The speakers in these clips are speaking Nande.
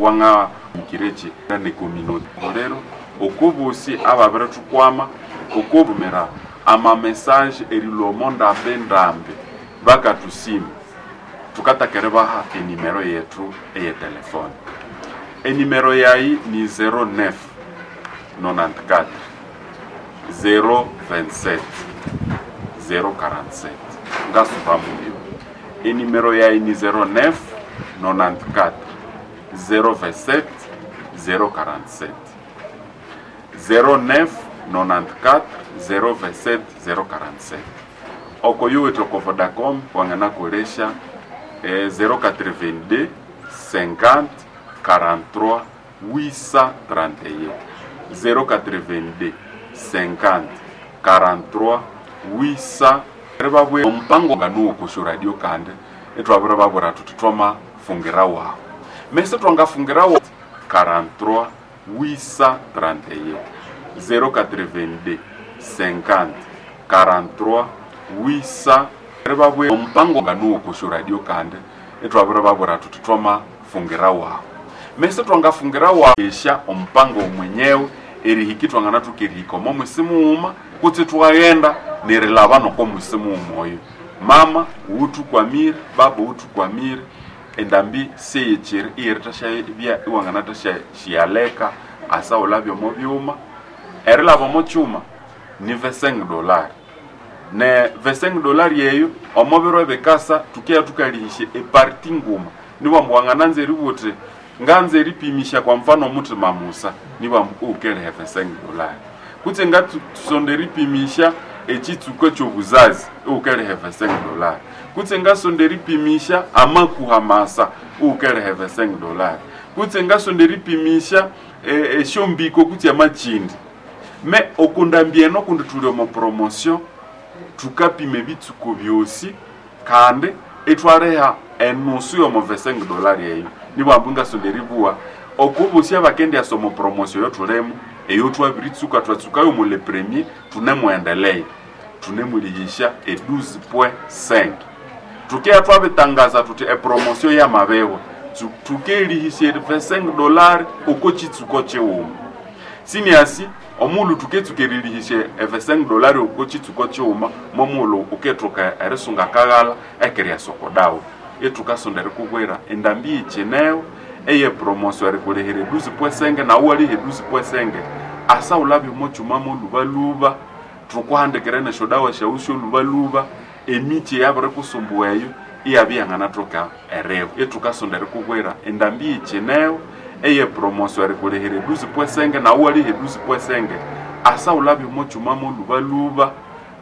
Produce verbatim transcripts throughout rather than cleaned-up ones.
Wanga kirechi ne communauté lero okobosi ababere tukwama okobumira ama message erilomo ndambe ndambe bakatusima. Tukatakere baha enimero yetu eye telefone. Enimero yayi ni zero nine nonante-quatre zero vingt-sept zero quarante-sept. Ngasuba muyo, enimero yayi ni zero nine nonante-quatre zero vingt-sept zero quarante-sept, zero nine nonante-quatre zero vingt-sept zero quarante-sept. Oko yuwithe oko Vodacom wanganakolesha eh, zero quatre-vingt-deux cinquante quarante-trois huit cent trente et un, zero quatre-vingt-deux cinquante quarante-trois huit cents. Ribabwe omupango nganuwo kushu radio kandi itwabire babwira tuti twamafungira wawu mese twangafungira wa quarante-trois huit cent trente et un, zero quatre-vingt-deux cinquante quarante-trois huit cents. Ribabwe omupango nganuwo kushu radio kandi itwabire babwira tuti twamafungira wawu mese twangafungira wa esha omupango mwenyewe erihiki twangana tukerihika omo mwisi mughuma kutse twaghenda nerilaba noko mwisi mughuma oyo. Mama wutukwamire, baba wutukwamire, endambi seyecheri iyeritashabya iwanganathashyaleka asa wulabya omo byuma. Erilaba omo kyuma ni vingt-cinq dollars, ne vingt-cinq dollars eyo omo biro ebikasa tukeya tukalihisya eparti nguma. Nibwambu wangananza eribugha uthi nganza eripimisha kwa mfano omuthima musa, nibwambu uwukeriha vingt-cinq dollars, kutse ngatsonda eripimisha ekitsuko ekyobuzazi, uwukeriha vingt-cinq dollars, kutse ngasonda eripimisha amakuha masa, uwukeriha vingt-cinq dollars, kutse ngasonda eripimisha esyombiko kutse amakindi. Me okundambi eno kundi tuli omo promotion, tukapima ebitsuko byosi kandi itwaliha enusu yomo vingt-cinq dollars eyo. Nibwambu ngasonda eribugha okubosi abakendyasa omo promotion eyotulimo eyo twabiritsuka, twatsukayo mu le premier, tunemuendelea tunemulihisha e douze point cinq. Tukeya twabitangaza tuti epromotion yamabewa, tukelihisya vingt-cinq dollars oko kitsuko kighuma. Siniasi omulhu tuketsuka erilihisya e vingt-cinq dollars oko kitsuko kighuma, momulhu ukethoka erisunga akaghalha ekiryasa oko dawa. Ithukasonda erikubwira endambi yikineho eye promotion erikulihira e douze point cinq, nawu waliha e douze point cinq asa wulabya omo kyuma molubaluba. Thukuhandikira nesyodawa syawu syolubaluba, emikyi eyabirikusumbuwa eyo iyabya iyanganathoka erihu. Ithukasonda erikubwira endambi yikineho eye promotion erikulihira e douze point cinq, nawu waliha e douze point cinq asa wulabya omo kyuma molubaluba.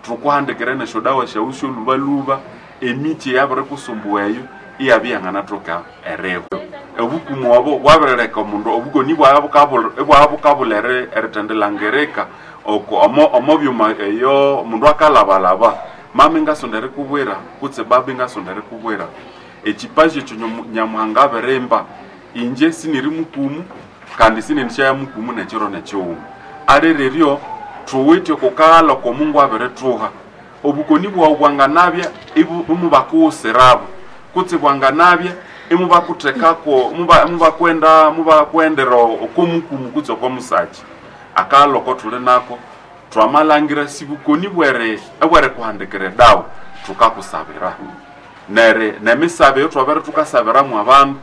Thukuhandikira nesyodawa syawu syolubaluba, emikyi eyabirikusumbuwa eyo iyabya iyanganathoka erihu. Obukumu obo bwabirileka omundu obukoni ibwabya bukabulha erithendilangirika oko omo omo byuma eyo omundu akalabalaba. Mama ngasonda erikubwira kutse baba ngasonda erikubwira ekipaji ekyo Nyamuhanga abirimba. Inje siniri mukumu kandi sinendishaya mukumu nekiro nekighuma alireryo thuwithe okukaghalha oko Mungu abirithuha. Obukoni bwawu bwanganabya imubakughusirabo kutse bwanganabya imubakuthekako mubakwenda mubakwendera oko mukumu kutse oko musaki. Akaghalha oko thuli nako twamalhangira sibukoni bweri ebwerikuhandikira edawa, thukakusabira neri nemisabe eyo twabere thukasabiramu abandu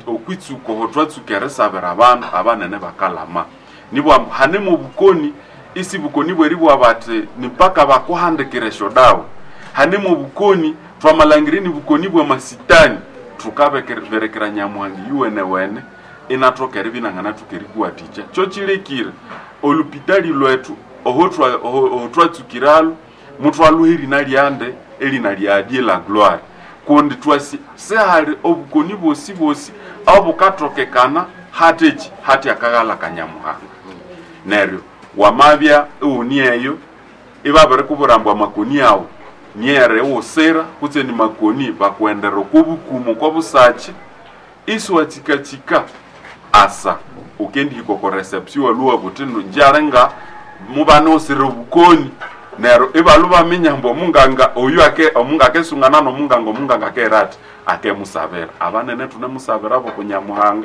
okwitsuka oho twatsuka erisabira abandu abanene bakalama. Nibwambu hanemu obukoni isi bukoni bweribugha bati nipaka bakuhandikira esyodawa. Hanemu obukoni twamalhangira ni bukoni bwamasitani, thukaberekera Nyamuhanga yuwenewene inathoka eribya inanganathoka erikuwathikya. Kyo kilekire olupitali lwethu oho twatsukiralwo muthwalhuha erina lyande, erina lya Dieu la gloire, kundi twasi sihali obukoni bosi bosi obukathokekana hatheki hathi akaghalha ka Nyamuhanga. Neryo wamabya iwuni eyo ibabirikubwira ambu amakoni awu nyere iwusira kutse ni makoni bakuendera oko bukumu oko busaki isiwatsikatsikka asa ukendihika oko reception iwalhuwa buthi ngyalinga mubanusire obukoni. Neryo ibalhwa baminya ambu omunganga oyu ake omunga akesungana nomunganga, omunganga akera athi akemusabira abanene thunemusabira boko Nyamuhanga.